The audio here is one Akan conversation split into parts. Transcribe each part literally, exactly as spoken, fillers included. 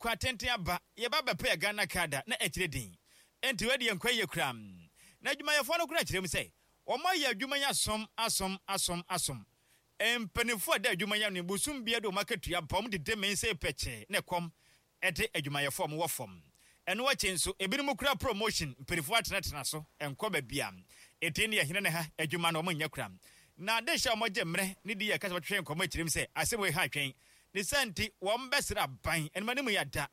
Kwa tenten aba yɛba bɛpɛ Ghana Card a na ɛkyerɛ din enti wei deɛ nkwa yie koraa. Na adwumayɛfoɔ no koraa kyerɛ mu sɛ wɔn ayɛ adwuma yi asom asom asom asom. Mpanimfoɔ a ɛda adwuma yi ano yi, bosom biara de wɔn akatua ba, wɔn dede mee sɛ pɛkyɛɛ na ɛkɔm de adwumayɛfoɔ a wɔwɔ fam. Ɛno akyi nso, ebinom kura promotion, mpanimfoɔ atenatena so, ɛnkɔ baabi a ɛti ne ɛhene ne ha adwuma no wɔn nyɛ kura. Na adehyeɛ a wɔgye mmerɛ ne di yɛ kasa wɔtwetwe nkɔmmɔ akyire mu sɛ asɛm wei ha atwɛn. Ne saa nti, wɔbɛsrɛ aban anim anim yi ada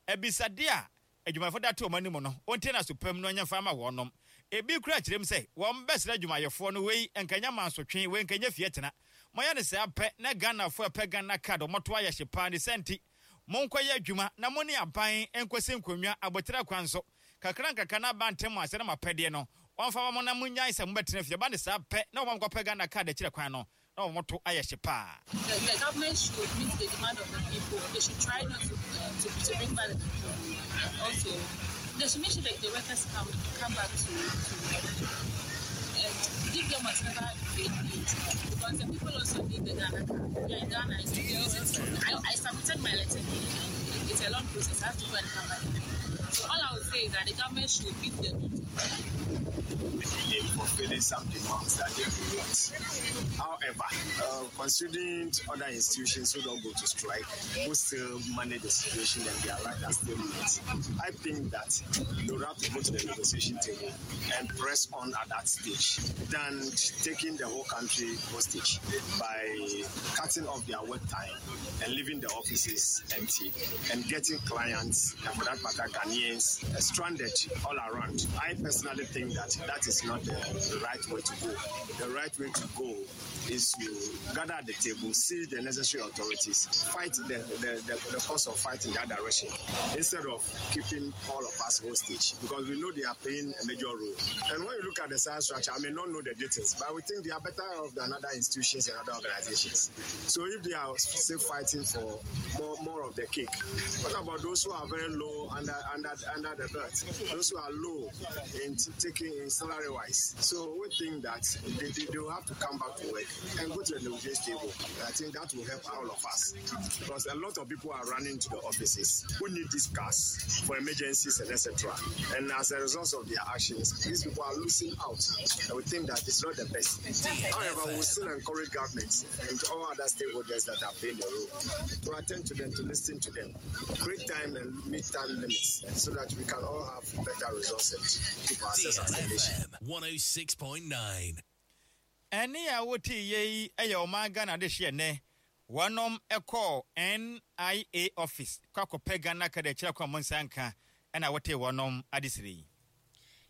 abisadeɛ a adwumayɛfoɔ de ato wɔn anim no, wɔntie no aso pa mu na wɔnyɛ mfa mma wɔnom. Ebi koraa kyerɛ mu sɛ wɔbɛsrɛ adwumayɛfoɔ no, wei nka nyɛ mansotwe, wei nka nyɛ fie tena. Moayɛ no saa pɛ na Ghanafoɔ a ɛpɛ Ghana card wɔto ayɛ hye paa. Ne saa nti, monkɔyɛ adwuma na mo ne aban nkɔsi nkonnwa aboterɛ kwan so kakra nkakra na aba ntɛm ansa na mo apɛdeɛ no wɔmfa mma mo na monnyae sɛ mobɛtena fie. Ɛba no saa pɛ na wɔma mokɔpɛ Ghana card akyire kwan no na wɔn to ayɛ hye paa. The, the government should meet the demand of the people. They should try not to, uh, to, to bring back the people. And also, they should make sure that the workers come, come back to, to work and give them whatever they need. Because the people also need the Ghana card. Yeah, in Ghana, it's to use it. I, I submitted my letter and it's a long process. I have to go and come back again. So all I would say is that the government should meet the need. In fulfilling some demands that they want. However, uh, considering other institutions who don't go to strike, who still manage the situation and their life are still met, I think that they would have to go to the negotiation table and press on at that stage than taking the whole country hostage by cutting off their work time and leaving the offices empty and getting clients, and for that matter, Ghanaians, uh, stranded all around. I personally think that that is not the right way to go. The right way to go is to gather at the table, see the necessary authorities, fight the, the, the, the cause of fight in that direction instead of keeping all of us hostage, because we know they are playing a major role. And when you look at the size structure, I may not know the details, but we think they are better off than other institutions and other organizations. So if they are still fighting for more, more of the cake, what about those who are very low under, under, under the belt, those who are low in t- taking in salary wise? So we think that they, they, they will have to come back to work and go to the negotiation table. I think that will help all of us, because a lot of people are running to the offices who need these cars for emergencies and et cetera. And as a result of their actions, these people are losing out. And we think that it's not the best. However, we still encourage governments and all other stakeholders that are playing the role to attend to them, to listen to them, create time and meet time limits so that we can all have better results and keep ourselves as a nation. D L F M one oh six point nine. Ɛne a wote yɛ yi yɛ ɔman Ghana de hyeɛ nnɛ wɔnom kɔɔ N I A office kɔ akɔpɛ Ghana Card akyerɛ kwan mo nsa nka ɛna wote wɔnom adesrɛ yi.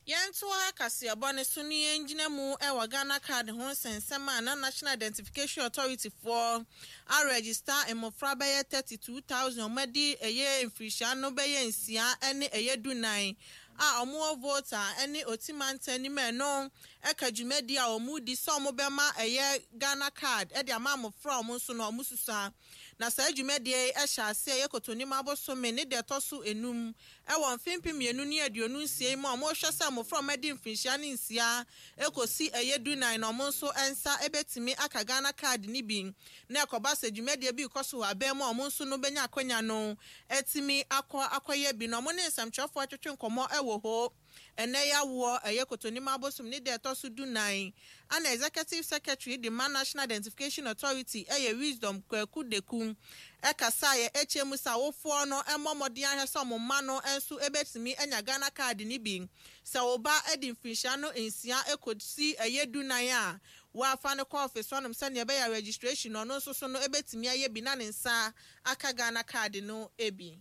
Yɛntoa kaseɛbɔ ne so ne yɛngyina mu wɔ Ghana Card ho nsɛnsɛm a na National Identification Authority foɔ aregister mmɔfra bɛyɛ thirty-two thousand ɔmo adi ɛyɛ mfirihyia no bɛyɛ nsia ne ɛyɛ dunan a ɔmo wɔ Volta ne Oti mantam anim. Ɛno ɛka dwumadi a ɔmo di sɛ ɔmo bɛma ɛyɛ Ghana Card ɛde ama mmɔfra a ɔmo nso no ɔmo susua. Na saa dwumadie yi ɛhyɛ ase ɛyɛ Kotonim abosome ne deɛ ɛtɔ so enum ɛwɔ mfimfin mmienu ne aduonu nsia yi mu a wɔrehwɛ sɛ mmɔfra a wɔadi mfinhyia ne nsia ekosi ɛyɛ dunan na wɔn nso nsa ebetumi aka Ghana Card ne bi. Na ɛkɔba sɛ dwumadie bi kɔ so wɔ abɛn mu a, wɔn nso no bɛnya akɔnya no etumi akɔ akɔyɛ bi. Na wɔn ne nsɛmtwerɛfoɔ atwetwe nkɔmɔ ɛwɔ hɔ ɛnɛ yɛ awoɔ ɛyɛ Kotonim abosom ne deɛ ɛtɔ so dunan ana Executive Secretary de ma National Identification Authority, ɛyɛ Wisdom Kwaku Deku, ɛkasa yɛ ɛkyɛ mu sɛ awofoɔ no ɛmmɔ mmɔden ahwɛ sɛ ɔmo mma no nso ɛbɛtumi anya Ghana Card ne bi. Sɛ ɔba ɛde mfinhyia no nsia ɛkɔsi ɛyɛ dunan a, wɔafa no kɔ office hɔnom sɛnea ɛbɛyɛ registration no, ɔno nso so no ɛbɛtumi ayɛ bi na ne nsa aka Ghana Card no bi.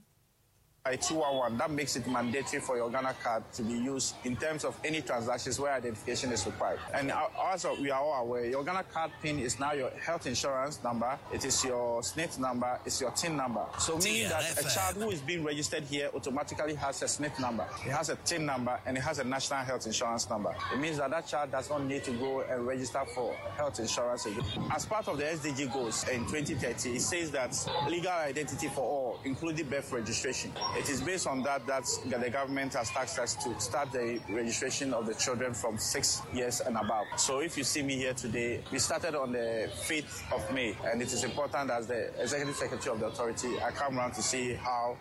two one one that makes it mandatory for your Ghana Card to be used in terms of any transactions where identification is required. And also, we are all aware, your Ghana Card PIN is now your health insurance number, it is your S N I T number, it's your TIN number. So meaning that a child who is being registered here automatically has a S N I T number, it has a TIN number, and it has a national health insurance number. It means that that child does not need to go and register for health insurance again. As part of the S D G goals in twenty thirty, it says that legal identity for all, including birth registration. It is based on that that the government has tasked us to start the registration of the children from six years and above. So if you see me here today, we started on the fifth of May, and it is important, as the Executive Secretary of the authority, I come around to see how